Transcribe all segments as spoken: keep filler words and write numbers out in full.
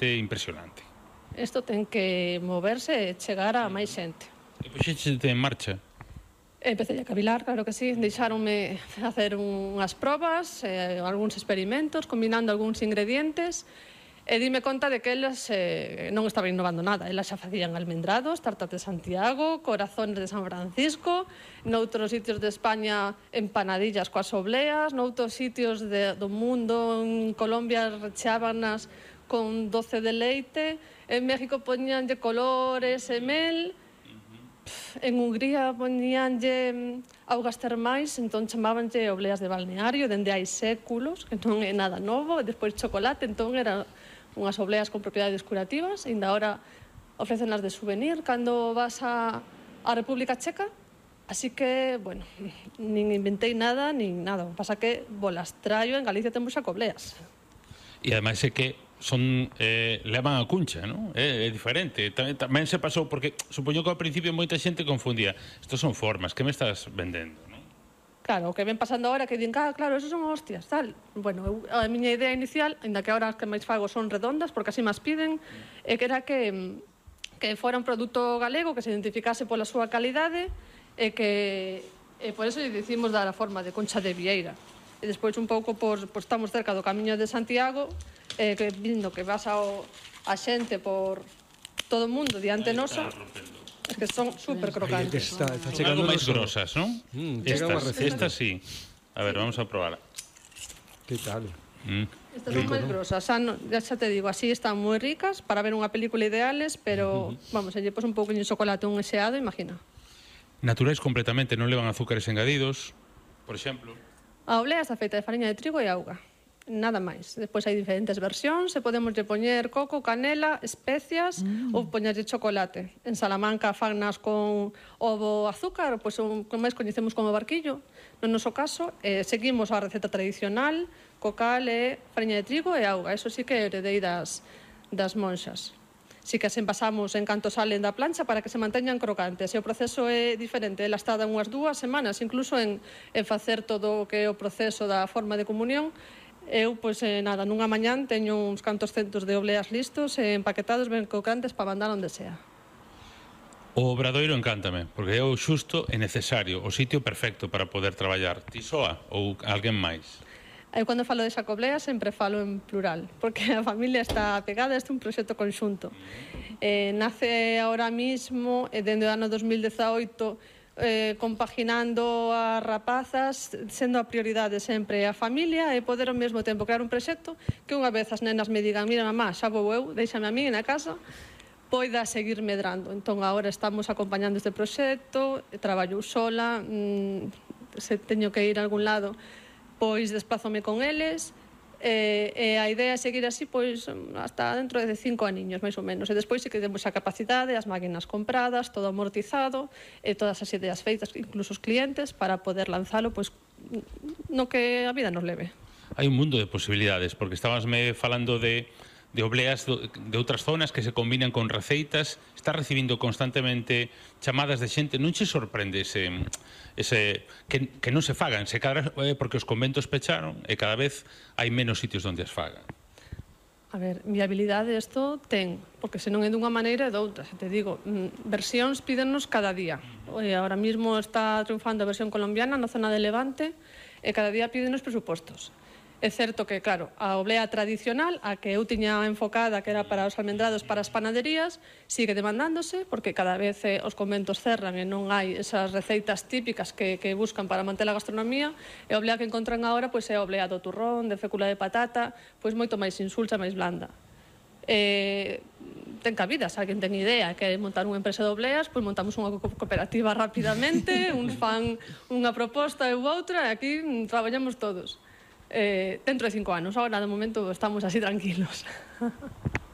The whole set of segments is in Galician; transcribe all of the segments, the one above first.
realmente impresionante. Isto ten que moverse e chegar a máis xente. E puxéchete en marcha? Empecé a cavilar, claro que sí. Deixáronme facer unhas probas, eh, algúns experimentos, combinando algúns ingredientes, e dime conta de que eles eh, non estaban innovando nada. Elas xa facían almendrados, tartas de Santiago, corazones de San Francisco, noutros sitios de España empanadillas coas obleas, noutros sitios de, do mundo, en Colombia recheábanas con doce de leite, en México poñíanlle colores e mel, en Hungría poñíanlle augas termais, entón chamábanlle obleas de balneario, dende hai séculos, que non é nada novo, e despois chocolate, entón era unhas obleas con propiedades curativas, e ainda ahora ofrecenlas de souvenir cando vas a, a República Checa, así que, bueno, nin inventei nada, nin nada, pasa que bolas traio, en Galicia temos xa cobleas. E ademais é que son eh, levan a cuncha, non? É, é diferente. Tamén, tamén se pasou, porque supoño que ao principio moita xente confundía. Estos son formas, que me estás vendendo, non? Claro, o que ven pasando ahora que din, ah, claro, esos son hostias, tal. Bueno, eu, a miña idea inicial, ainda que ahora as que máis fago son redondas, porque así máis piden, é que era que, que fora un produto galego, que se identificase pola súa calidade, e que e por eso lle dicimos dar a forma de concha de vieira. E despois un pouco, por, por estamos cerca do Camiño de Santiago, eh, que vindo que vas ao, a xente por todo o mundo diante nosa, es que son super crocantes. Está, está Son algo máis grosas, non? Mm, estas, estas sí. A ver, vamos a probar. Que tal? Mm. Estas son máis grosas, xa, no, ya xa te digo, así están moi ricas para ver unha película ideales, pero, uh-huh. vamos, se lle pos un pouco de chocolate un eseado, imagina. Naturais completamente, non levan azúcares engadidos, por exemplo. A oblea está feita de fariña de trigo e auga, nada máis. Despois hai diferentes versións, e podemos lle poñer coco, canela, especias, mm. ou poñerlle chocolate. En Salamanca fagnas con ovo azúcar, pois o que máis coñecemos como barquillo. No noso caso, eh, seguimos a receta tradicional, cocal e fariña de trigo e auga. Eso sí que heredei das, das monxas. Sí que as envasamos en canto salen da plancha para que se manteñan crocantes. E o proceso é diferente. Ela está de unhas dúas semanas, incluso en, en facer todo o que é o proceso da forma de comunión. Eu, pois, eh, nada, nunha mañán teño uns cantos centos de obleas listos e empaquetados ben crocantes para mandar onde sea. O Obradoiro encántame, porque é o xusto e necesario, o sitio perfecto para poder traballar. Ti soa ou alguén máis? Eu, cando falo de Xacoblea, sempre falo en plural, porque a familia está pegada, este é un proxecto conxunto. Eh, nace ahora mismo, e dende o ano dos mil dezaoito, eh, compaginando as rapazas, sendo a prioridade sempre a familia, e poder ao mesmo tempo crear un proxecto que unha vez as nenas me digan, mira mamá, xa vou eu, déixame a mí na casa, poida seguir medrando. Entón, agora estamos acompañando este proxecto, traballo sola, mmm, se teño que ir a algún lado, pois desplázome con eles, e, e a idea é seguir así pois hasta dentro de cinco aniños, máis ou menos. E despois sí que temos a capacidade, as máquinas compradas, todo amortizado, e todas as ideas feitas, incluso os clientes, para poder lanzalo pois no que a vida nos leve. Hai un mundo de posibilidades, porque estabasme falando de de obleas de outras zonas que se combinan con receitas. Está recibindo constantemente chamadas de xente. Non che sorprende ese, ese que, que non se fagan, se cada, eh, porque os conventos pecharon e cada vez hai menos sitios onde as fagan? A ver, viabilidade isto ten, porque se non é dunha maneira é doutra. Se te digo, versións pídennos cada día. E agora mismo está triunfando a versión colombiana na zona de Levante, e cada día pídennos presupostos. É certo que, claro, a oblea tradicional, a que eu tiña enfocada, que era para os almendrados, para as panaderías, sigue demandándose, porque cada vez eh, os conventos cerran e non hai esas receitas típicas que, que buscan para manter a gastronomía, e a oblea que encontran agora pois, é a oblea do turrón, de fécula de patata, pois moito máis insulsa, máis blanda. Eh, ten cabida, se alguén ten idea que é montar unha empresa de obleas, pois montamos unha cooperativa rapidamente, uns fan unha proposta e outra, e aquí traballamos todos. Eh, dentro de cinco anos, agora de momento estamos así tranquilos.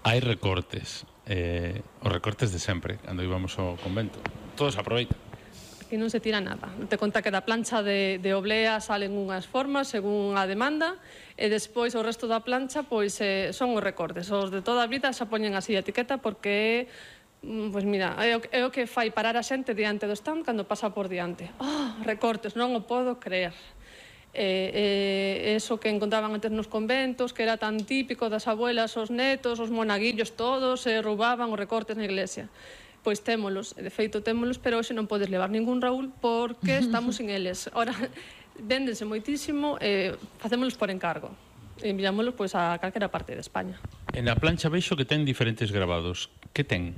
Hai recortes, eh, os recortes de sempre, cando íbamos ao convento. Todos aproveitan. Aquí non se tira nada. Te conta que da plancha de, de oblea salen unhas formas según a demanda, e despois o resto da plancha pois eh, son os recortes. Os de toda a vida xa poñen así a etiqueta porque pois mira, é o, é o que fai parar a xente diante do stand cando pasa por diante. Oh, recortes, non o podo creer. eh, eso que encontraban antes nos conventos, que era tan típico das abuelas, os netos, os monaguillos todos, se roubaban os recortes na iglesia. Pois témolos, de feito témolos, pero hoxe non podes levar ningún Raúl porque estamos sin eles. Ora, véndense moitísimo, eh, facémolos por encargo. E enviámolos pois, a calquera parte de España. En a plancha veixo que ten diferentes grabados. Que ten?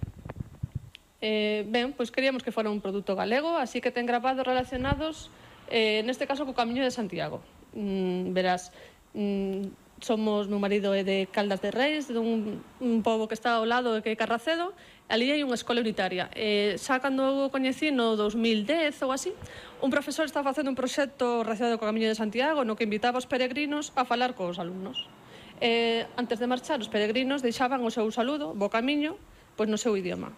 Eh, ben, pois queríamos que fora un produto galego, así que ten grabados relacionados, eh, neste caso, co Camiño de Santiago. Mm, verás, mm, somos, meu marido é de Caldas de Reis, dun un pobo que está ao lado de que é Carracedo, ali hai unha escola unitaria. Eh, xa cando eu coñecí no dos mil dez ou así, un profesor estaba facendo un proxecto relacionado co Camiño de Santiago no que invitaba os peregrinos a falar cos alumnos. Eh, antes de marchar, os peregrinos deixaban o seu saludo, bo camiño, pois no seu idioma.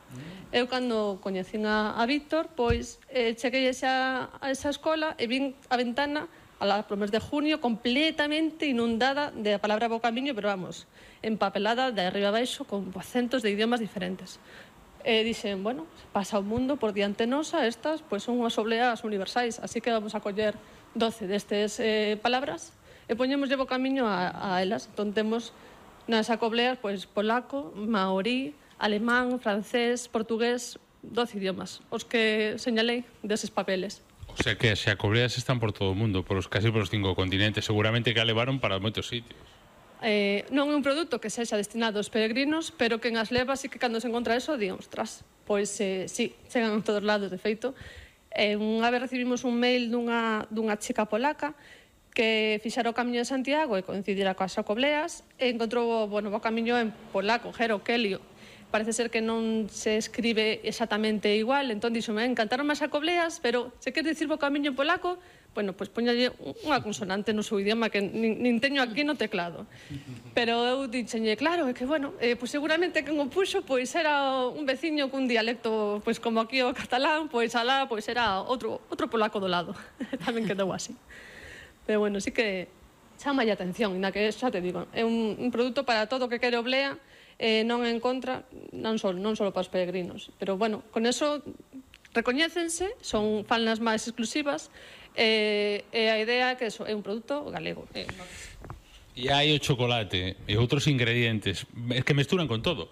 Eu, cando coñecín a, a Víctor, pois eh, cheguei a esa, a esa escola e vin a ventana a pro mes de junio completamente inundada de a palabra bo camiño, pero vamos, empapelada de arriba a baixo con acentos de idiomas diferentes. E dixen, bueno, pasa o mundo por diante nosa, estas pois son unhas obleas universais, así que vamos a coller doce destes eh, palabras e poñemos bo camiño a, a elas. Entón temos nas acobleas pois polaco, maorí, alemán, francés, portugués, doce idiomas, os que señalei deses papeles. O sea que as xacobleas están por todo o mundo, por os, casi por os cinco continentes. Seguramente que a levaron para moitos sitios. Eh, non é un produto que sexa destinado aos peregrinos, pero que en as levas e que cando se encontra eso, di, ostras, pois eh, sí, chegan a todos lados, de feito. Eh, unha vez recibimos un mail dunha, dunha chica polaca que fixera o Camiño de Santiago e coincidira coas xacobleas e encontrou bueno, o camiño en polaco, Gero, Kelio. Parece ser que non se escribe exactamente igual, entón dixome, encantaron as xacobleas, pero se queres dicir o camiño en polaco, bueno, pois poñalle unha consonante no seu idioma que nin, nin teño aquí no teclado. Pero eu dixenlle, claro, é que, bueno, eh, pois seguramente que o puxo, pois era un veciño cun dialecto, pois como aquí o catalán, pois alá, pois era outro, outro polaco do lado. Tamén quedou así. Pero bueno, sí que chama a atención, na que xa te digo, é un, un produto para todo o que quere oblea, eh, non en contra, non só, non só para os peregrinos. Pero, bueno, con eso recoñécense, son falnas máis exclusivas, e, e a idea é que eso é un produto galego. Eh, E hai o chocolate e outros ingredientes que mesturan con todo.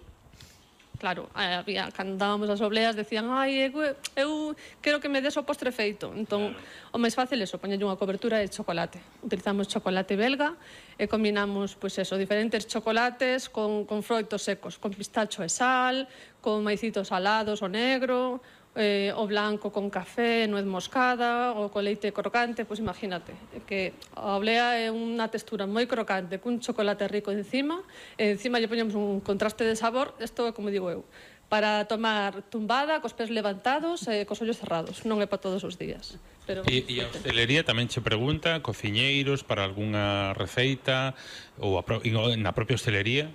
Claro, había, cando dábamos as obleas decían, ai, eu, eu quero que me des o postre feito. Entón, claro, o máis fácil é eso, poñerlle unha cobertura de chocolate. Utilizamos chocolate belga e combinamos, pois eso, diferentes chocolates con, con froitos secos, con pistacho e sal, con maicitos salados o negro, eh, o blanco con café, nuez moscada, ou con leite crocante, pois imagínate, que a oblea é unha textura moi crocante, cun chocolate rico encima, e encima lle poñemos un contraste de sabor, isto é como digo eu, para tomar tumbada, cos pés levantados e cos ollos cerrados, non é para todos os días. Pero... E, e a hostelería tamén che pregunta, cociñeiros para algunha receita, ou a pro, na propia hostelería?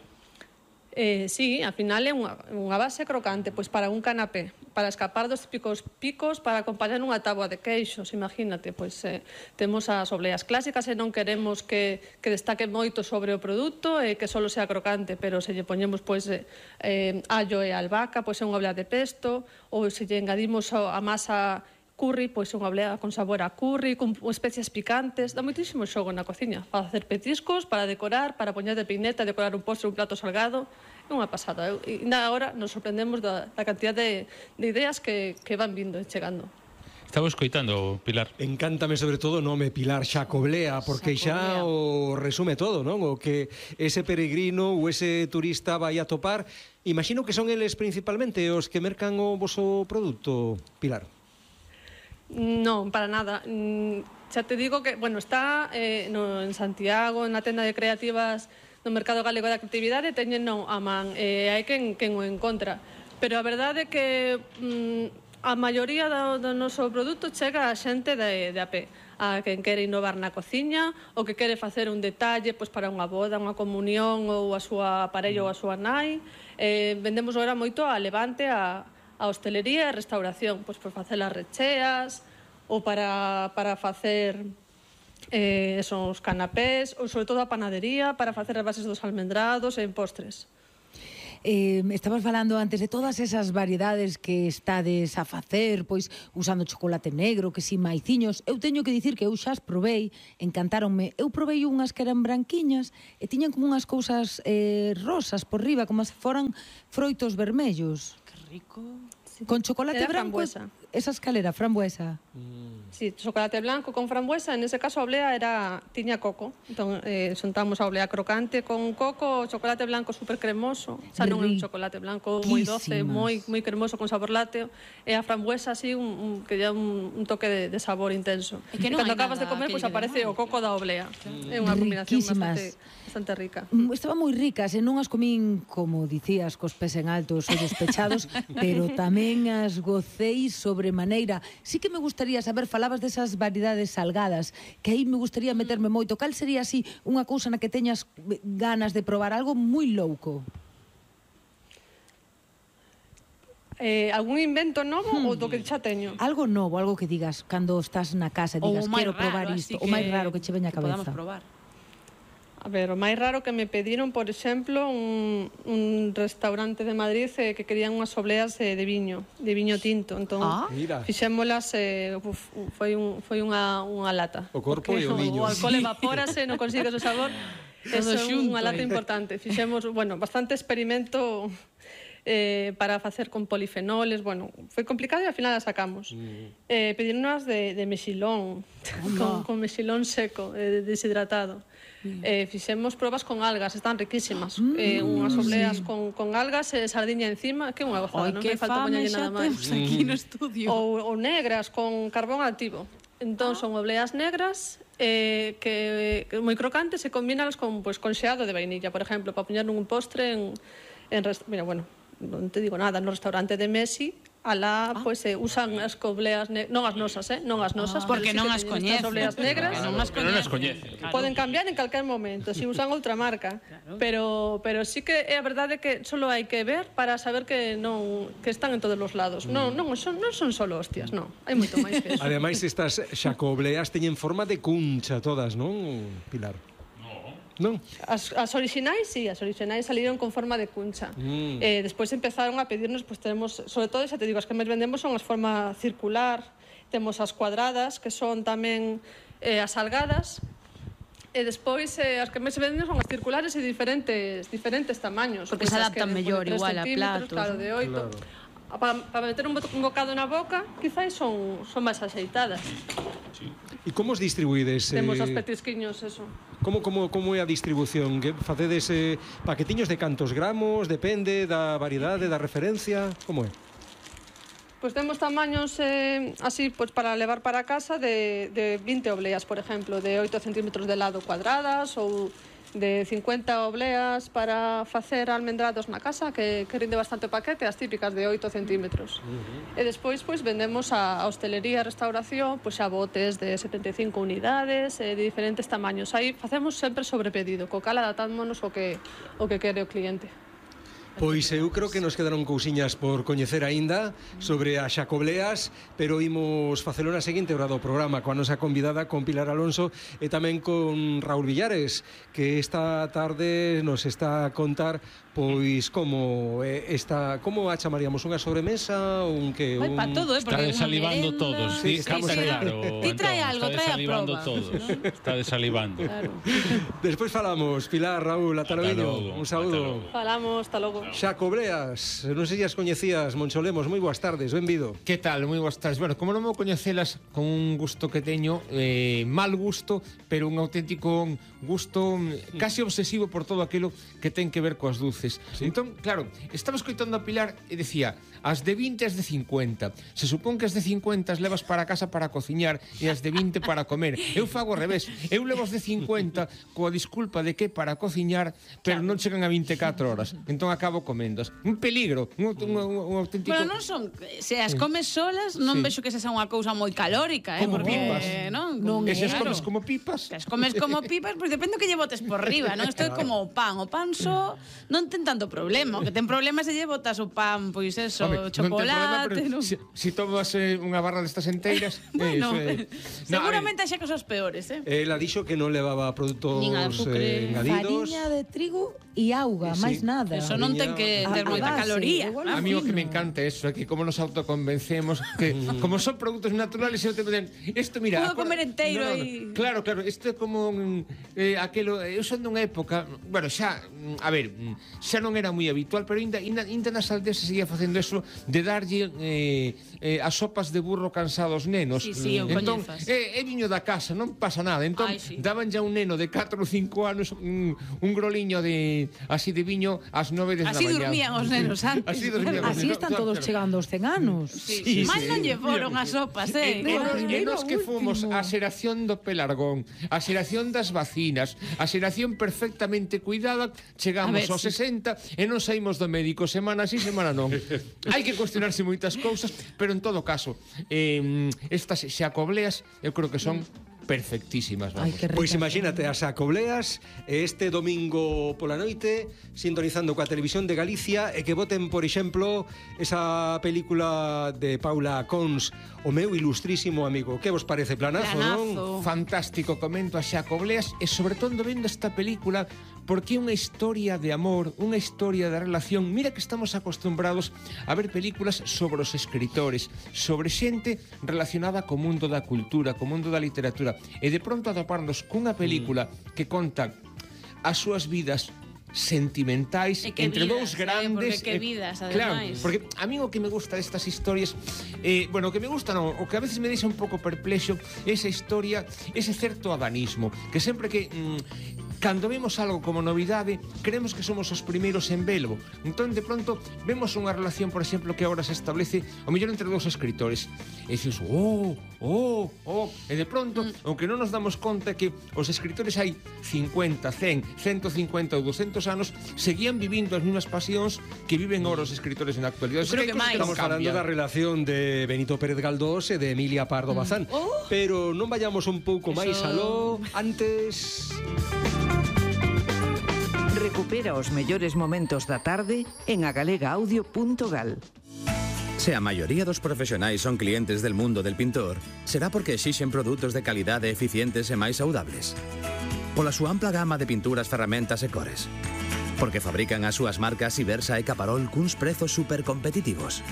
Eh, sí, al final é unha, unha base crocante, pois para un canapé, para escapar dos típicos picos, para acompañar unha táboa de queixos, imagínate, pois eh, temos as obleas clásicas e non queremos que, que destaque moito sobre o produto e que só sea crocante, pero se lle poñemos pois eh, eh, allo e albahaca, pois é unha oblea de pesto, ou se lle engadimos a masa curry, pois unha oblea con sabor a curry, con especias picantes, dá moitísimo xogo na cociña, para facer petiscos, para decorar, para poñer de peineta, decorar un postre, un plato salgado, é unha pasada. E agora nos sorprendemos da, da cantidad de, de ideas que, que van vindo e chegando. Estaba escoitando, Pilar. Encántame sobre todo o nome Pilar Xacoblea, porque xa o resume todo, non? O que ese peregrino ou ese turista vai a topar. Imagino que son eles principalmente os que mercan o voso produto, Pilar. Non, para nada. Xa te digo que, bueno, está eh, no, en Santiago, na tenda de creativas do Mercado Galego da Actividade, teñen non a man, eh, hai quen, quen o encontra. Pero a verdade é que mm, a maioría do, do noso produto chega a xente de, de a pé, a quen quere innovar na cociña, ou que quere facer un detalle pois, para unha boda, unha comunión, ou a súa parella ou a súa nai. Eh, vendemos agora moito a Levante, a a hostelería e a restauración, pois por facer as recheas ou para, para facer eh, esos canapés, ou sobre todo a panadería, para facer as bases dos almendrados e en postres. Eh, estabas falando antes de todas esas variedades que estades a facer, pois usando chocolate negro, que si maiciños. Eu teño que dicir que eu xa as probei, encantáronme. Eu probei unhas que eran branquiñas e tiñan como unhas cousas eh, rosas por riba, como se foran froitos vermellos. Que rico. Con chocolate Era branco. frambuesa. Esa escalera, frambuesa. Sí, chocolate blanco con frambuesa, en ese caso a oblea era tiña coco. Entón, eh, xuntamos a oblea crocante con coco, chocolate blanco super cremoso, xa non é un chocolate blanco moi doce, moi moi cremoso con sabor lácteo, e a frambuesa así un, un que lle un, un toque de, de sabor intenso. E que E non cando hai acabas de nada comer, que pois lle aparece quede o coco da oblea. Claro. É unha combinación Riquísimas. bastante bastante rica. Mm, Estaban moi ricas e non as comín, como dicías, cos pés en alto, os ollos pechados, pero tamén as gocei sobremaneira. Sí que me gustaría saber, falabas desas variedades salgadas, que aí me gustaría meterme moito. Cal sería así unha cousa na que teñas ganas de probar algo moi louco? Eh, algún invento novo Hmm. ou do que xa teño? Algo novo, algo que digas cando estás na casa e Ou digas, o máis quero probar raro, isto, así o máis raro que che veña a que podamos cabeza. probar. A ver, o máis raro que me pediron, por exemplo, un, un restaurante de Madrid eh, que querían unhas obleas eh, de viño, de viño tinto. Entón, Ah. Mira. fixémolas, eh, uf, foi, un, foi unha, unha lata. O corpo Porque e o viño. O alcohol evapórase, non consigues o sabor. Eso é xunto, unha lata eh. importante. Fixemos, bueno, bastante experimento eh, para facer con polifenoles. Bueno, foi complicado e ao final a sacamos. Mm. Eh, Pedirnos de, de mexilón, con, con mexilón seco, eh, deshidratado. Mm. Eh, fixemos probas con algas, están riquísimas. Mm. Eh, unhas obleas sí. con, con algas e eh, sardiña encima, que unha gozada, Ai, non que me falta fame poñerlle xa nada máis. temos aquí no estudio. Ou, ou negras con carbón activo. Entón son obleas negras eh, que, que moi crocantes e combínalas con, pues, con xeado de vainilla, por exemplo, para poñer nun postre en, en rest... Mira, bueno, non te digo nada, no restaurante de Messi, alá, ah. pois, eh, usan as obleas negras, non as nosas, eh, non as nosas, Ah, porque pero sí non que as teñen coñece. estas obleas negras. Porque non as Pero non as coñece. coñece. Claro. Poden cambiar en calquer momento, se si usan outra marca. Claro. Pero pero sí que é a verdade que solo hai que ver para saber que non que están en todos os lados. Mm. Non, non son non son solo hostias, non. Hai moito máis que eso. Ademais, estas xacobleas teñen forma de cuncha todas, non, Pilar? Non? As, as orixinais, sí, as orixinais saliron con forma de cuncha. Mm. Eh, despois empezaron a pedirnos, pues tenemos, sobre todo, xa te digo, as que máis vendemos son as forma circular, temos as cuadradas, que son tamén eh, as salgadas, e despois eh, as que máis se venden son as circulares e diferentes diferentes tamaños. Porque Pois se as adaptan que de mellor tres igual a centímetros, platos, claro, ¿no? de oito. Claro. Para pa meter un, bo un bocado na boca, quizás son, son máis axeitadas. E como os distribuídes? Temos eh, os petisquiños, eso. Como, como, como é a distribución? Que facedes eh, paquetiños de cantos gramos? Depende da variedade, da referencia? Como é? Pois temos tamaños eh, así pois para levar para casa de, de vinte obleas, por exemplo, de oito centímetros de lado cuadradas ou de cincuenta obleas para facer almendrados na casa, que, que rinde bastante o paquete, as típicas de oito centímetros. Uh-huh. E despois pois vendemos a, a hostelería e a restauración pois a botes de setenta e cinco unidades, eh, de diferentes tamaños. Aí facemos sempre sobre pedido, co cal adaptámonos o que, o que quere o cliente. Pois eu creo que nos quedaron cousiñas por coñecer aínda sobre as xacobleas, pero imos facelo na seguinte hora do programa coa nosa convidada, con Pilar Alonso, e tamén con Raúl Villares, que esta tarde nos está a contar pois como eh, esta, como a chamaríamos, unha sobremesa ou un que Vai un... pa todo, eh, porque Está unha desalivando merenda. todos, sí, Sí, estamos está aí. claro. Ti trae Antón, algo, está trae a desalivando proba. todos. Está desalivando. Claro. Despois falamos, Pilar, Raúl, ata Ata logo. logo, Un ata saúdo. logo. Falamos, hasta logo. Xacobleas, non sei se as coñecías, Moncholemos, moi boas tardes, benvido. Que tal? Moi boas tardes. Bueno, como non vou coñecelas con un gusto que teño, eh, mal gusto, pero un auténtico gusto mm, casi obsesivo por todo aquilo que ten que ver coas dulces. Sí. Entón, claro, estaba escoitando a Pilar e decía, as de vinte e as de cincuenta. Se supón que as de cincuenta as levas para casa para cociñar e as de vinte para comer. Eu fago ao revés. Eu levo as de cincuenta coa disculpa de que para cociñar, pero non chegan a vinte e catro horas. Entón acabo comendas. Un peligro, un, un, un, un auténtico... Bueno, non son, se as comes solas, non Sí. vexo que esa sea unha cousa moi calórica, eh, Como porque pipas. non, Non E se as claro. comes como pipas... Se as comes como pipas, pois pois depende do que lle botes por riba, non? Isto é como o pan, o pan só non ten tanto problema, o que ten problema é se lle botas o pan, pois eso, Home, chocolate, non ten problema, pero non? si, si tomas eh, unha barra destas enteiras, Bueno, eh, seguramente hai xa cosas peores, eh? Ela dixo que non levaba produtos Nin azúcar, eh, engadidos. Fariña de trigo e auga, Sí. máis nada. Eso non ten que ter A- a moita base, caloría. igual A mí o que me fino. encanta é eso, é que como nos autoconvencemos que como son produtos naturales eu te dicen, isto mira, Puedo comer enteiro no, no, no. aí. Claro, claro, isto é como mm, eh, aquelo, eu son dunha época, bueno, xa, mm, a ver, mm, xa non era moi habitual, pero ainda, ainda, ainda nas aldeas se seguía facendo eso de darlle eh, eh, as sopas de burro cansados nenos. Sí, sí, eu entón, coñezas. é, é viño da casa, non pasa nada. Entón, Ai, sí. daban ya un neno de catro ou cinco anos un, un groliño de así de viño ás nove da Así mañá. dormían os nenos antes. Así dormían os Así nenos. están Claro, todos claro. chegando aos cen anos. Sí, Mal non lle foron as sopas, eh? E nos, e primeiro nos que ao fomos último. a xeración do pelargón, a xeración das vacinas, a xeración perfectamente cuidada, chegamos A ver, aos sí. sesenta e non saímos do médico semana sí, semana non. Hai que cuestionarse moitas cousas, pero en todo caso, eh, estas xacobleas eu creo que son perfectísimas, Ai, vamos. que Pois ricas. imagínate as acobleas e este domingo pola noite sintonizando coa televisión de Galicia e que voten, por exemplo, esa película de Paula Cons, O meu ilustrísimo amigo. Que vos parece? Planazo, non? Planazo. Fantástico, comento a xacobleas e sobre todo vendo esta película porque é unha historia de amor, unha historia de relación. Mira que estamos acostumbrados a ver películas sobre os escritores, sobre xente relacionada co mundo da cultura, co mundo da literatura, e de pronto atoparnos cunha película que conta as súas vidas sentimentais E que entre vidas, dous eh, grandes. porque que eh, vidas, claro, ademais. porque a mí o que me gusta destas historias, eh, bueno, o que me gusta non, o que a veces me deixa un pouco perplexo é esa historia, ese certo adanismo, que sempre que mm, cando vemos algo como novidade, creemos que somos os primeiros en velo. Entón, de pronto, vemos unha relación, por exemplo, que agora se establece o mellor entre dous escritores. E dices, oh, oh, oh, e de pronto, mm. aunque non nos damos conta que os escritores hai cincuenta, cen, ciento cincuenta ou doscientos anos seguían vivindo as mesmas pasións que viven agora os escritores na actualidade. Eu creo que máis. Estamos falando da relación de Benito Pérez Galdós e de Emilia Pardo Bazán. Oh. Pero non vayamos un pouco Eso- máis aló. Antes... Recupera os mellores momentos da tarde en agalegaaudio punto gal. Se a maioría dos profesionais son clientes del mundo del pintor, será porque exixen produtos de calidade eficientes e máis saudables. Pola súa ampla gama de pinturas, ferramentas e cores. Porque fabrican as súas marcas Ibersa e Caparol cuns prezos supercompetitivos.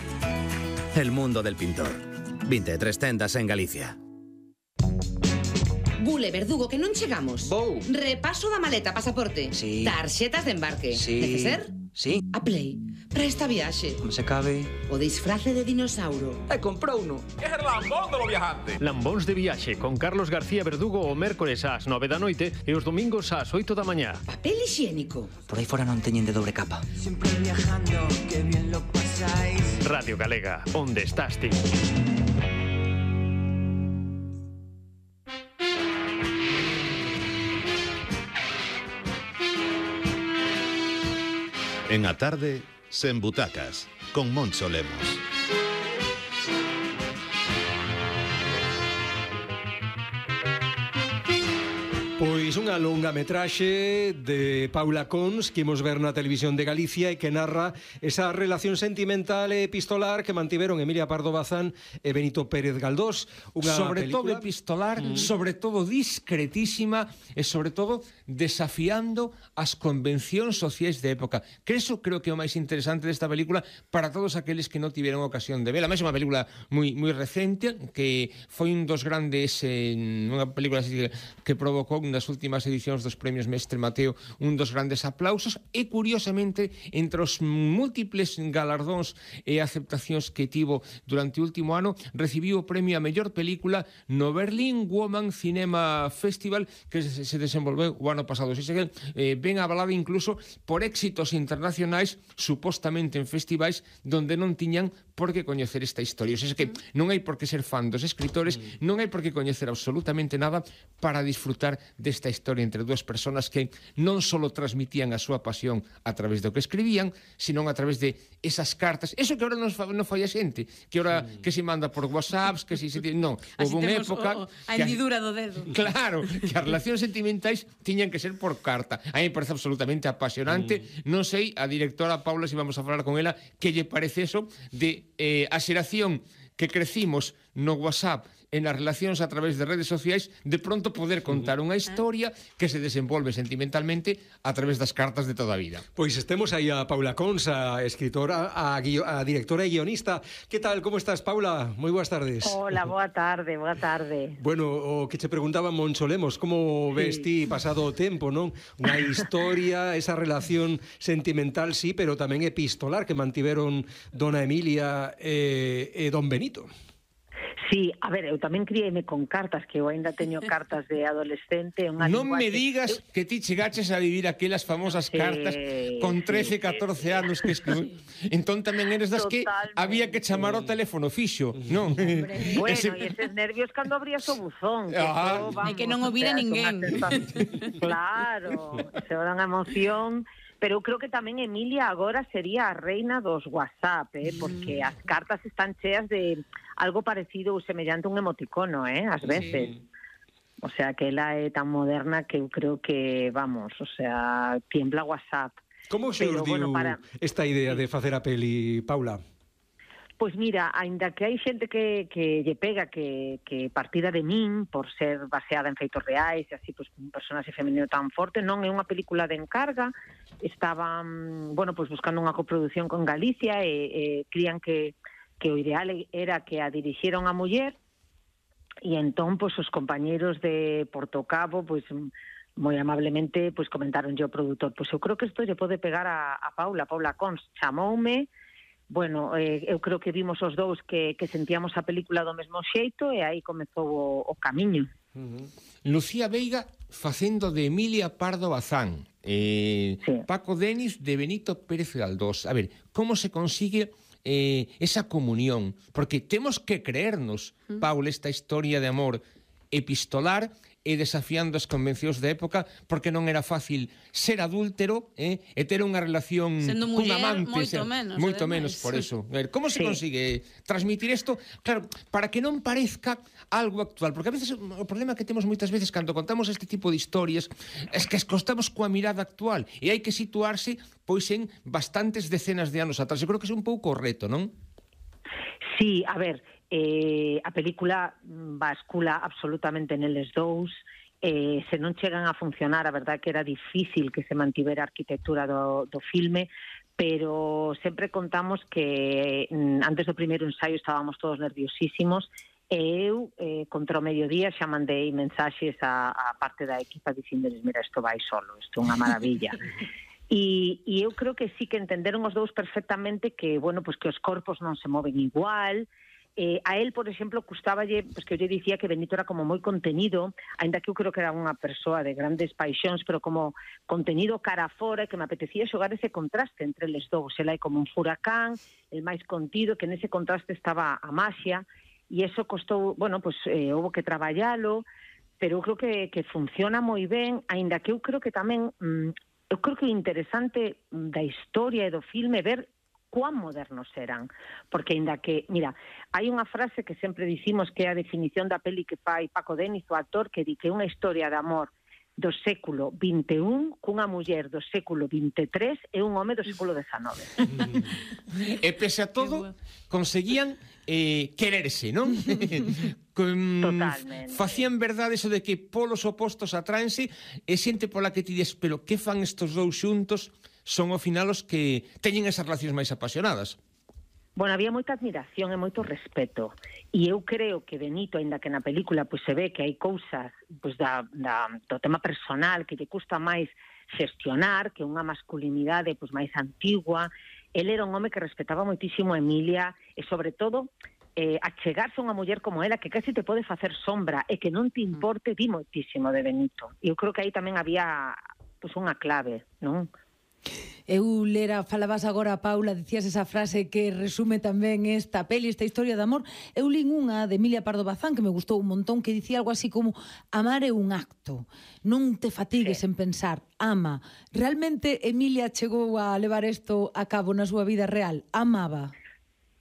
El mundo del pintor. vinte e tres tendas en Galicia. Bule, Verdugo, que non chegamos. Vou. Repaso da maleta, pasaporte. Sí. Tarxetas de embarque. Sí. Neceser? Sí. A Play. Para esta viaxe. Como se cabe. O disfrace de dinossauro. E comprou uno. Lambóns de viaxe con Carlos García Verdugo o mércores ás nove da noite e os domingos ás oito da mañá. Papel higiénico. Por aí fora non teñen de dobre capa. Radio Galega, onde estás ti? En a tarde, sen butacas, con Moncho Lemos. Pois unha longa metraxe de Paula Cons que imos ver na televisión de Galicia e que narra esa relación sentimental e epistolar que mantiveron Emilia Pardo Bazán e Benito Pérez Galdós. Unha sobre todo película... epistolar, mm. sobre todo discretísima e sobre todo desafiando as convencións sociais de época. Que eso creo que é o máis interesante desta película para todos aqueles que non tiveron ocasión de vela. Máis é unha película moi moi recente que foi un dos grandes eh, unha película así que provocou nas últimas edicións dos premios Mestre Mateo un dos grandes aplausos e curiosamente entre os múltiples galardóns e aceptacións que tivo durante o último ano recibiu o premio a mellor película no Berlin Woman Cinema Festival que se, se desenvolveu o ano pasado. Se que, eh, ben avalada incluso por éxitos internacionais supostamente en festivais donde non tiñan por que coñecer esta historia. O sea, que non hai por que ser fan dos escritores, non hai por que coñecer absolutamente nada para disfrutar desta esta historia entre dúas persoas que non só transmitían a súa pasión a través do que escribían, sino a través de esas cartas. Eso que ahora non fa, non fai a xente, que ahora mm. que se manda por WhatsApps, que se... se non, houve unha época... O, o, a hendidura do dedo. Claro, que as relacións sentimentais tiñan que ser por carta. A mí me parece absolutamente apasionante. Mm. Non sei, a directora Paula, se vamos a falar con ela, que lle parece eso de eh, a xeración que crecimos no WhatsApp, en as relacións a través de redes sociais, de pronto poder contar unha historia que se desenvolve sentimentalmente a través das cartas de toda a vida. Pois estemos aí a Paula Cons, a escritora, a, guio, a directora e guionista. Que tal, como estás, Paula? Moi boas tardes. Hola, boa tarde, boa tarde. Bueno, o que che preguntaba Moncho Lemos, como sí. ves ti pasado o tempo, non? Unha historia, esa relación sentimental, sí, pero tamén epistolar que mantiveron Dona Emilia e, e Don Benito. Sí, a ver, eu tamén criei-me con cartas, que eu ainda teño cartas de adolescente. Unha non me digas eu... que ti chegaches a vivir aquelas famosas cartas eh, con trece, catorce sí, anos que escribí. Entón tamén eres das Totalmente. Que había que chamar o teléfono fixo, non? Bueno, Ese... e eses nervios cando abrías o buzón. Que ah. E que non o vira ninguén. Claro, se era unha emoción... Pero eu creo que tamén Emilia agora sería a reina dos WhatsApp, eh? Porque as cartas están cheas de algo parecido ou semellante a un emoticono, eh? Ás veces. Sí. O sea, que ela é tan moderna que eu creo que, vamos, o sea, tiembla WhatsApp. Como se os diu bueno, para... esta idea de facer a peli, Paula? Pois mira, aínda que hai xente que, que lle pega que, que partida de min por ser baseada en feitos reais e así, pois, un personaxe femenino tan forte, non é unha película de encarga. Estaban, bueno, pois buscando unha coproducción con Galicia e, e crían que, que o ideal era que a dirixieron a muller e entón, pois, os compañeros de Portocabo, pois, moi amablemente, pois, comentaron yo o produtor, pois eu creo que isto lle pode pegar a, a Paula, Paula Cons, chamoume. Bueno, eh, eu creo que vimos os dous que, que sentíamos a película do mesmo xeito e aí comezou o, o camiño. Uh-huh. Lucía Veiga facendo de Emilia Pardo Bazán, eh, sí. Paco Denis de Benito Pérez Galdós. A ver, como se consigue eh, esa comunión? Porque temos que creernos, uh-huh. Paula, esta historia de amor epistolar e desafiando as convencións da época, porque non era fácil ser adúltero eh, e ter unha relación cun amante. Moito ser, menos. Moito menos, por eso. A ver, como se sí. consigue transmitir isto? Claro, para que non parezca algo actual, porque a veces o problema que temos moitas veces cando contamos este tipo de historias es que escostamos coa mirada actual e hai que situarse pois en bastantes decenas de anos atrás. Eu creo que é un pouco o reto, non? Sí, a ver, eh, a película bascula absolutamente neles dous, eh, se non chegan a funcionar, a verdade que era difícil que se mantivera a arquitectura do, do filme, pero sempre contamos que mm, antes do primeiro ensaio estábamos todos nerviosísimos e eu, eh, contra o mediodía, xa mandei mensaxes a, a parte da equipa dicíndoles, mira, isto vai solo, isto é unha maravilla. E, e eu creo que sí que entenderon os dous perfectamente que, bueno, pues que os corpos non se moven igual. Eh, a él, por exemplo, custaballe, pues que eu lle dicía que Benito era como moi contenido, aínda que eu creo que era unha persoa de grandes paixóns, pero como contenido cara fora, que me apetecía xogar ese contraste entre eles dous. Ela é como un furacán, el máis contido, que nese contraste estaba a maxia, e eso costou, bueno, pues eh, houve que traballalo, pero eu creo que, que funciona moi ben, aínda que eu creo que tamén... Mm, eu creo que é interesante da historia e do filme ver cuán modernos eran, porque ainda que, mira, hai unha frase que sempre dicimos que é a definición da peli que fai Paco Denis, o actor, que di que unha historia de amor do século vinte e un cunha muller do século vinte e tres e un home do século dezanove. E pese a todo, conseguían eh, quererse, non? Con, Totalmente. Facían verdade eso de que polos opostos atráense e xente pola que ti dis, pero que fan estos dous xuntos? Son ao final os que teñen esas relacións máis apasionadas. Bueno, había moita admiración e moito respeto. E eu creo que Benito, aínda que na película pois, se ve que hai cousas pois, da, da, do tema personal que lle custa máis xestionar, que unha masculinidade pois, máis antigua, ele era un home que respetaba moitísimo a Emilia e, sobre todo, eh, achegarse a unha muller como ela que casi te pode facer sombra e que non te importe, di moitísimo de Benito. E eu creo que aí tamén había pois, unha clave, non? Eu lera, falabas agora, Paula, dicías esa frase que resume tamén esta peli, esta historia de amor. Eu lín unha de Emilia Pardo Bazán que me gustou un montón, que dicía algo así como: amar é un acto, non te fatigues sí. en pensar, ama. Realmente Emilia chegou a levar isto a cabo na súa vida real? Amaba?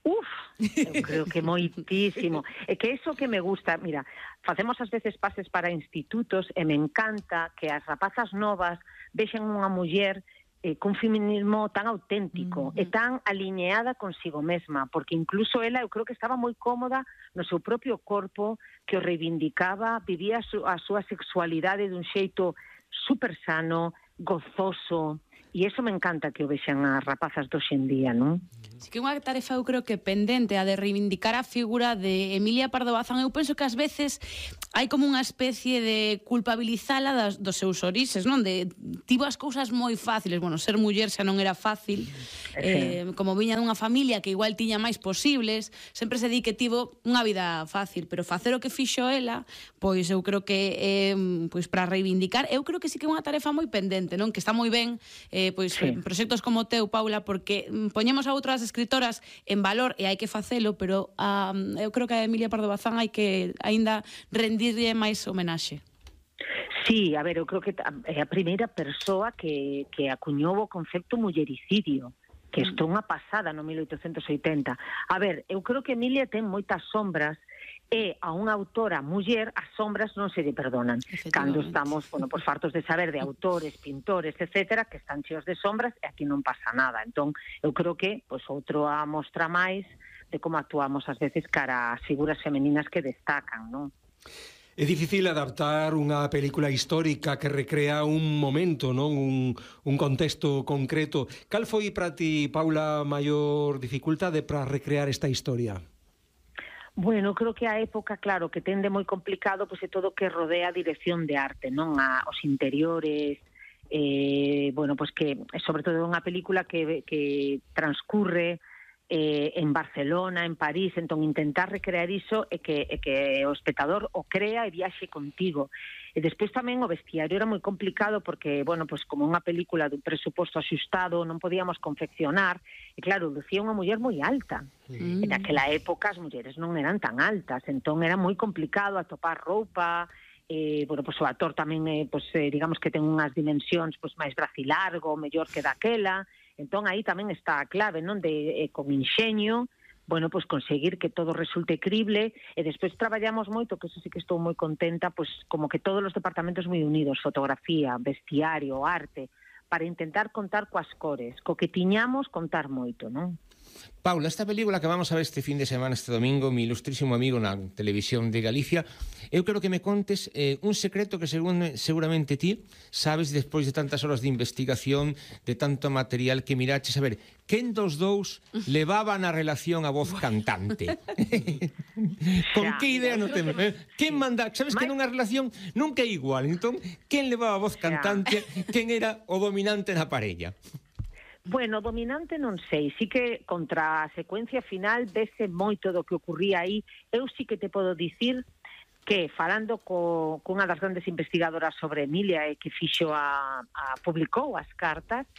Uf, eu creo que moitísimo. É que eso que me gusta, mira, facemos ás veces pases para institutos e me encanta que as rapazas novas vexen unha muller eh, cun feminismo tan auténtico mm-hmm. e tan alineada consigo mesma, porque incluso ela, eu creo que estaba moi cómoda no seu propio corpo, que o reivindicaba, vivía a, su, a súa sexualidade dun xeito super sano, gozoso, e eso me encanta que o vexan as rapazas do hoxendía, non? Sí que unha tarefa eu creo que pendente a de reivindicar a figura de Emilia Pardo Bazán. Eu penso que ás veces hai como unha especie de culpabilizala das, dos seus orixes, non? De tivo as cousas moi fáciles. Bueno, ser muller xa non era fácil, eh, como viña dunha familia que igual tiña máis posibles, sempre se di que tivo unha vida fácil, pero facer o que fixo ela, pois eu creo que eh, pois para reivindicar, eu creo que sí que é unha tarefa moi pendente, non? Que está moi ben eh, pois sí. proxectos como o teu, Paula, porque poñemos a outras escritoras en valor e hai que facelo, pero um, eu creo que a Emilia Pardo Bazán hai que aínda rendirlle máis homenaxe. Sí, a ver, eu creo que é a primeira persoa que, que acuñou o concepto mullericidio, que isto é unha pasada no mil oitocentos oitenta. A ver, eu creo que Emilia ten moitas sombras e a unha autora muller as sombras non se lle perdonan. Cando estamos, bueno, pues fartos de saber de autores, pintores, etcétera, que están cheos de sombras e aquí non pasa nada. Entón, eu creo que pues outro a mostra máis de como actuamos ás veces cara ás figuras femeninas que destacan, non? É difícil adaptar unha película histórica que recrea un momento, non? Un, un contexto concreto. Cal foi para ti, Paula, a maior dificultade para recrear esta historia? Bueno, creo que a época, claro, que tende moi complicado, pois é todo que rodea a dirección de arte, non? A, os interiores, eh, bueno, pois que, sobre todo unha película que, que transcurre eh, en Barcelona, en París, entón intentar recrear iso e que, e que o espectador o crea e viaxe contigo. E despois tamén o vestiario era moi complicado porque, bueno, pois como unha película dun presuposto axustado non podíamos confeccionar, e claro, lucía unha muller moi alta. Mm. E naquela época as mulleres non eran tan altas, entón era moi complicado atopar roupa, eh, bueno, pois o actor tamén, eh, pois, eh, digamos que ten unhas dimensións pois máis bracilargo, mellor que daquela, entón aí tamén está a clave, non, de eh, con inxeño, bueno, pois conseguir que todo resulte crible e despois traballamos moito, que eso sí que estou moi contenta, pois como que todos os departamentos moi unidos, fotografía, vestiario, arte, para intentar contar coas cores, co que tiñamos contar moito, non? Paula, esta película que vamos a ver este fin de semana, este domingo, mi ilustrísimo amigo na televisión de Galicia, eu quero que me contes eh, un secreto que según, seguramente ti sabes despois de tantas horas de investigación, de tanto material que miraches. A ver, quen dos dous levaba na relación a voz cantante? Con que idea non temos? Quen manda? Sabes que nunha relación nunca é igual, entón, quen levaba a voz cantante? Quen era o dominante na parella? Bueno, dominante non sei, sí que contra a secuencia final vese moito do que ocurría aí. Eu sí que te podo dicir que falando co, cunha das grandes investigadoras sobre Emilia e que fixo a, a publicou as cartas,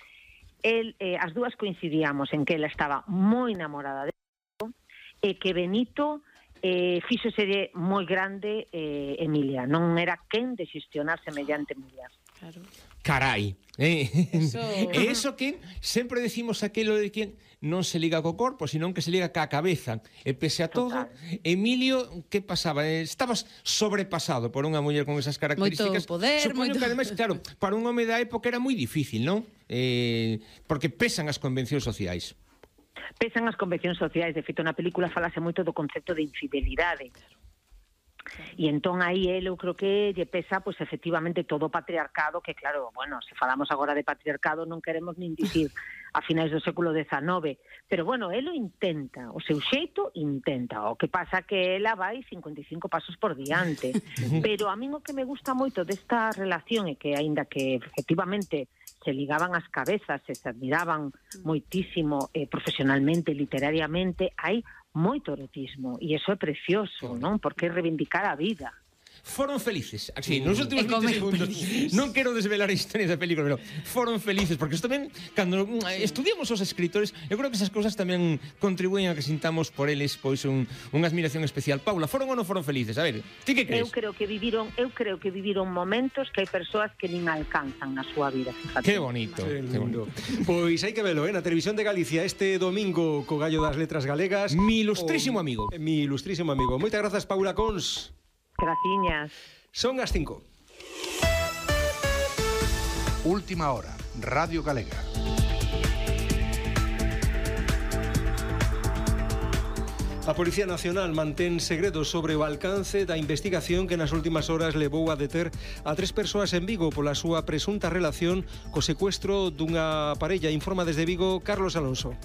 el, eh, as dúas coincidíamos en que ela estaba moi enamorada de Benito e que Benito eh, fíxose moi grande eh, Emilia, non era quen de xestionar semellante muller. Claro. Carai, eh? Eso... E iso que sempre decimos aquilo de que non se liga co corpo, senón que se liga ca cabeza. E pese a todo, Emilio, que pasaba? Estabas sobrepasado por unha muller con esas características. Moito poder, Supoño moito... que ademais, claro, para un home da época era moi difícil, non? Eh, porque pesan as convencións sociais. Pesan as convencións sociais. De feito, na película falase moito do concepto de infidelidade. E entón aí ele, eu creo que lle pesa, pois efectivamente todo o patriarcado, que claro, bueno, se falamos agora de patriarcado non queremos nin dicir a finais do século dezanove, pero bueno, ele o intenta, o seu xeito intenta, o que pasa que ela vai cincuenta e cinco pasos por diante, pero a min o que me gusta moito desta relación é que, aínda que efectivamente se ligaban as cabezas e se admiraban moitísimo eh, profesionalmente, literariamente, hai moito erotismo, e iso é precioso, non? Porque reivindicar a vida. foron felices. Así, nos últimos E comen vinte segundos. perdices. Non quero desvelar a historia da película, pero foron felices, porque isto tamén, cando mm, estudiamos os escritores, eu creo que esas cousas tamén contribuyen a que sintamos por eles pois un, unha admiración especial. Paula, foron ou non foron felices? A ver, ti que crees? Eu creo que viviron, eu creo que viviron momentos que hai persoas que nin alcanzan na súa vida, fíjate. Que bonito, que bonito. Pois hai que velo, eh, na Televisión de Galicia este domingo co Gallo das Letras Galegas. Mi ilustrísimo o, amigo. Mi ilustrísimo amigo. Moitas grazas, Paula Cons. Graciñas. Son as cinco. Última hora, Radio Galega. A Policía Nacional mantén segredo sobre o alcance da investigación que nas últimas horas levou a deter a tres persoas en Vigo pola súa presunta relación co secuestro dunha parella. Informa desde Vigo Carlos Alonso.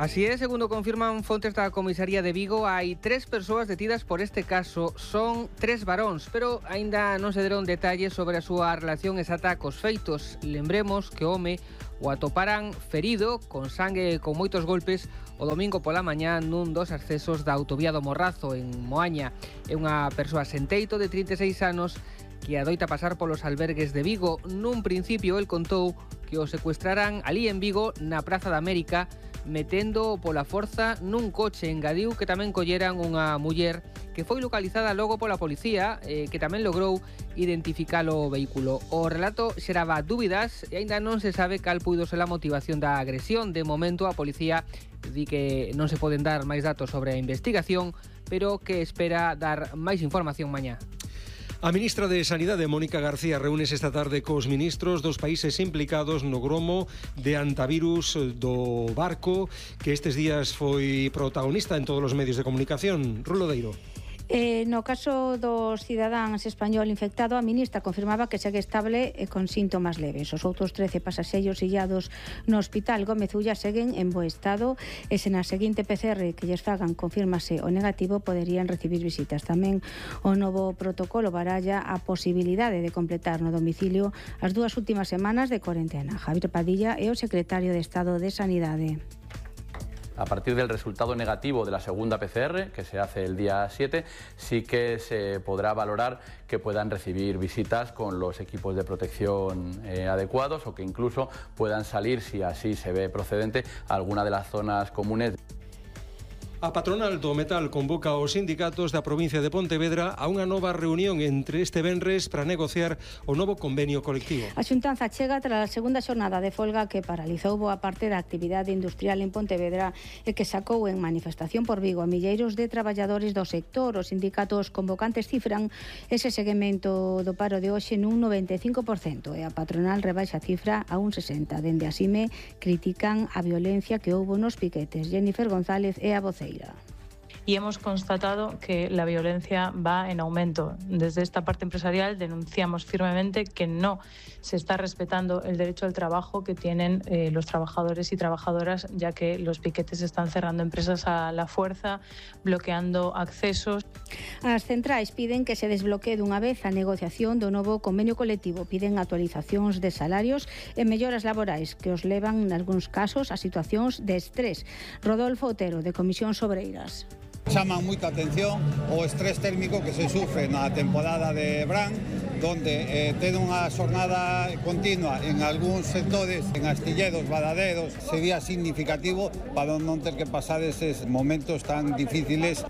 Así é, segundo confirman fontes da comisaría de Vigo, hai tres persoas detidas por este caso. Son tres varóns, pero aínda non se deron detalles sobre a súa relación exacta cos feitos. Lembremos que o home o atoparan ferido, con sangue e con moitos golpes, o domingo pola mañá nun dos accesos da autovía do Morrazo, en Moaña. É unha persoa sen teito de trinta e seis anos que adoita pasar polos albergues de Vigo. Nun principio, el contou que o secuestraran ali en Vigo, na Praza da América, metendo pola forza nun coche. Engadiu que tamén colleran unha muller que foi localizada logo pola policía, eh, que tamén logrou identificar o vehículo. O relato xeraba dúbidas e aínda non se sabe cal puido ser a motivación da agresión. De momento a policía di que non se poden dar máis datos sobre a investigación, pero que espera dar máis información mañá. A ministra de Sanidade, Mónica García, reúnese esta tarde cos ministros dos países implicados no gromo de antivirus do barco que estes días foi protagonista en todos os medios de comunicación. Rulo Deiro. Eh, no caso dos cidadáns español infectado, a ministra confirmaba que segue estable e con síntomas leves. Os outros trece pasaxeiros illados no hospital Gómez Ulla seguen en bo estado e se na seguinte P C R que lles fagan confirmase o negativo poderían recibir visitas. Tamén o novo protocolo baralla a posibilidade de completar no domicilio as dúas últimas semanas de corentena. Javier Padilla é o secretario de Estado de Sanidade. A partir del resultado negativo de la segunda P C R, que se hace el día siete, sí que se podrá valorar que puedan recibir visitas con los equipos de protección eh, adecuados o que incluso puedan salir, si así se ve procedente, a alguna de las zonas comunes. A patronal do metal convoca aos sindicatos da provincia de Pontevedra a unha nova reunión entre este venres para negociar o novo convenio colectivo. A xuntanza chega tras a segunda xornada de folga que paralizou boa parte da actividade industrial en Pontevedra e que sacou en manifestación por Vigo a milleiros de traballadores do sector. Os sindicatos convocantes cifran ese seguimento do paro de hoxe nun noventa e cinco por cento e a patronal rebaixa a cifra a un sesenta por cento. Dende a Sime critican a violencia que houbo nos piquetes. Jennifer González é a voceira. Y hemos constatado que la violencia va en aumento. Desde esta parte empresarial denunciamos firmemente que no se está respetando el derecho al trabajo que tienen eh, los trabajadores y trabajadoras, ya que los piquetes están cerrando empresas a la fuerza, bloqueando accesos. As centrais piden que se desbloquee dunha vez a negociación do novo convenio colectivo. Piden actualizacións de salarios e melloras laborais que os levan, nalgúns casos, a situacións de estrés. Rodolfo Otero, de Comisións Obreiras. Chaman moita atención o estrés térmico que se sufre na temporada de verán, donde eh, ten unha xornada continua en algúns sectores, en astilleros, badaderos, sería significativo para non ter que pasar eses momentos tan difíciles.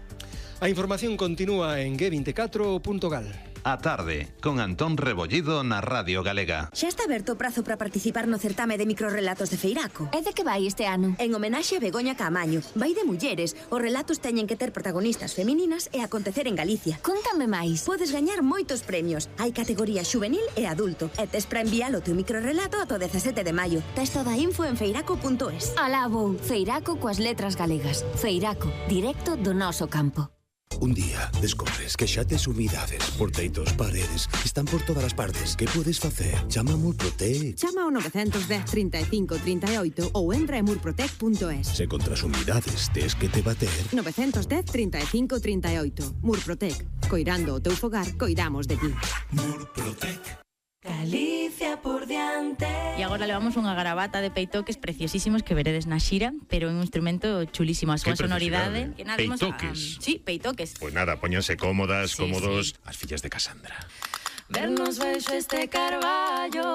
A información continúa en G veinticuatro punto gal. A tarde, con Antón Rebollido na Radio Galega. Xa está aberto o prazo para participar no certame de microrelatos de Feiraco. É de que vai este ano? En homenaxe a Begoña Caamaño. Vai de mulleres. Os relatos teñen que ter protagonistas femininas e acontecer en Galicia. Contame máis. Podes gañar moitos premios. Hai categoría xuvenil e adulto. E tes para enviar o teu microrelato ata o dezasete de maio. Tes toda a info en feiraco punto es. Alá vou. Feiraco coas letras galegas. Feiraco, directo do noso campo. Un día descobres que xa tes humidades por teitos, paredes, están por todas as partes. Que podes facer? Chama a Murprotec. Chama ao nove un cero, trinta e cinco, trinta e oito ou entra en murprotec punto es. Se contra as humidades tes que te bater. nove un cero, trinta e cinco, trinta e oito. Murprotec. Coirando o teu fogar, coidamos de ti. Murprotec. Galicia por diante. E agora levamos unha garabata de peitoques preciosísimos que veredes na xira, pero en un instrumento chulísimo, a súa sonoridade. Que nada, imos a- Peitoques. Sí, peitoques. Pois nada, póñanse cómodas, Sí, cómodos, as fillas de Casandra. Vernos baixo este carballo,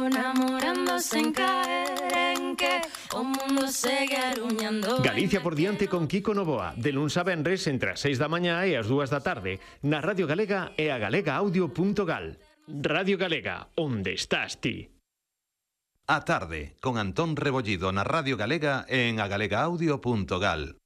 namorándose en caer en que o mundo segue aruñando. Galicia por diante con Kiko Novoa, de luns a venres entre as seis da mañá e as dúas da tarde, na Radio Galega e a galega audio punto gal. Radio Galega, onde estás ti? A tarde, con Antón Rebollido na Radio Galega e en agalega audio punto gal.